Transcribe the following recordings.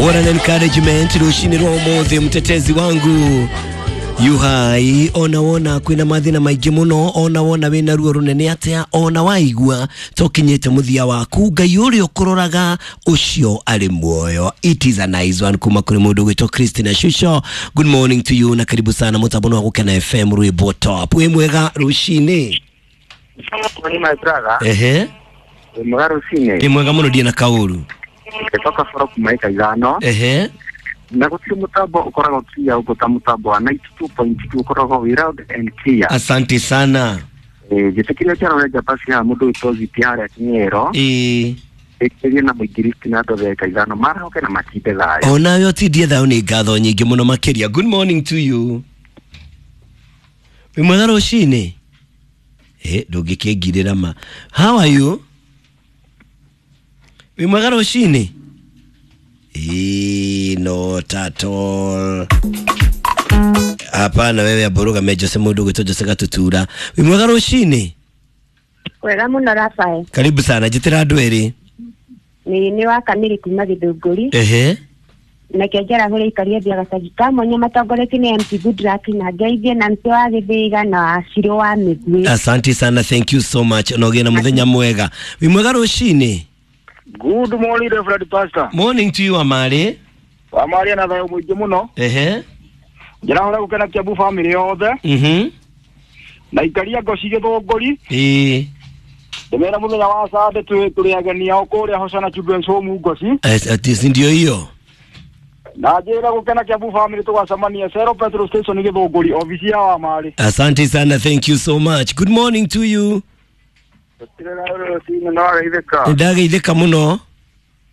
What an encouragement rucini rwa umuthi, mtetezi wangu yuhai. Ona wona kwina mathina maingi muno, ona wona wina ruo runene atia, ona waigua tokinyite muthia waku, Ngai uria ukuroraga ucio ari muoyo. It is a nice one kuma kuri mundu gwitwo Christina Shusho. Good morning to you na karibu sana mutambo wa Gukena FM, rwimbo top. Wi mwega rucini? Morning, my brother. Ehe. Wĩ mwega rũcinĩ? Ndi mwega muno, ndie na kauru. Gĩtoka boro kuma ĩka ithano. Ehe. Na gũtirĩ mũtambo ũkoragwo clear ũguo ta mũtambo wa 92.2, ũkoragwo wĩ loud and clear. Asante sana. Njĩtĩkĩria njarore njamba cia mũndũ wĩtwo Ziti harĩa Kĩng'ero. Ĩĩ. Ĩkĩrie na mũingĩristi na andũ othe eka ithano marahoke na matinde thayũ. Onawe ũtindie thayũ, nĩ ngatho nyingĩ mũno makĩria. Good morning to you. Wĩ mwega rũcinĩ? Ndũngĩkĩngirĩra ma. How are you? Wĩ mwega rũcinĩ? Not at all. Hapana, wewe abũrũgame Jose, mũndũ ũgwĩtwo Jose Gatutura. Wĩ mwega rũcinĩ? Wega muno, Rafael. Karibu sana, njĩtĩra andũ erĩ. Nĩ wa Kamiri kuma Gĩthũngũri. Ehe. Nake njarahũre ikaria thia gacagi ka mwanya matongoretio nĩ MC Goodluck na ngeithie na mtĩ wa Gĩthĩga na wa Cirũ wa Mĩguĩ. Asante sana, thank you so much. Na ũgĩe na mũthenya mwega. Wĩ mwega rũcinĩ? Good morning, Reverend Pastor. Morning to you, Amari. Wa Maria na thayũ mũingĩ mũno. Ehe. Njĩrahũra gũkena Kiambu family yothe na ikaria ngoci Gĩthũngũri. Ĩĩ. Ndĩmera mũthenya wa Sunday tũrĩ ageni ao kũrĩa Hosanna Children's Home Ngoci. Ati si ndio hiyo? Na njĩra gũkena Kiambu family tũgacemania Zero Petrol Station Gĩthũngũri, obici ya Wamari. Asante sana, thank you so much. Good morning to you. Gũtirĩ na rũcinĩ, no wageithĩka. Nĩndageithĩka mũno.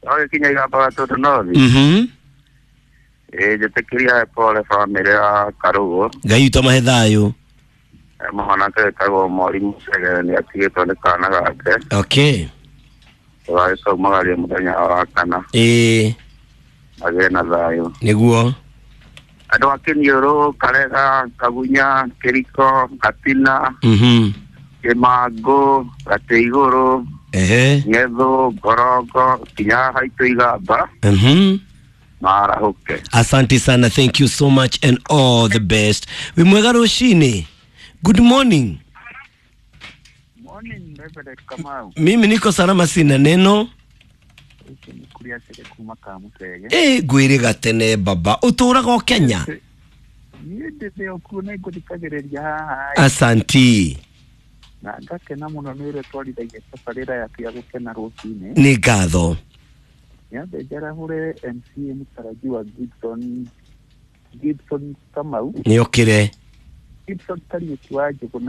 Wagĩkinya Igamba Gatũndũ North. Ĩĩ, njĩtĩkĩria pole bamĩrĩ ya Karũgũ. Ngai witũ amahe thayũ. Mwanake wĩtagwo Mori Mũcegere nĩ atigĩtwo nĩ kana gake. Okay. Tũgagĩkaumagaria mũthenya wa kana. Ĩĩ. Magĩe na thayũ. Nĩguo. Andũ a Kĩniũrũ, Karega, Kagunya, Kĩriko, Gatina, Kĩmangũ, Gatĩ Igũrũ, Ehe. Ng'ethũ, Ngorongo, nginya haitũ Igamba, marahũke. Asante sana, thank you so much and all the best. Wĩ mwega rũcinĩ? Good morning. Morning, Reverend Kamau. Mimi niko salama, sina neno. Ũcio nĩ kũrĩa cere kuma Kamũtege. Ngwĩrĩga tene baba. Ũtũraga o Kenya? Niĩ ndĩthĩ o kuo na ngũthikagĩrĩria haha. Asanti. Na ngakena mũno nĩ ũrĩa twarithagia tabarĩra yaku ya gũkena rũcinĩ. Nĩ ngatho. Nyambe njarahũre MCA mũtarajiwa Gibson Kamau. Nĩ okĩre. Gibson Kariũki wa Njũgũna.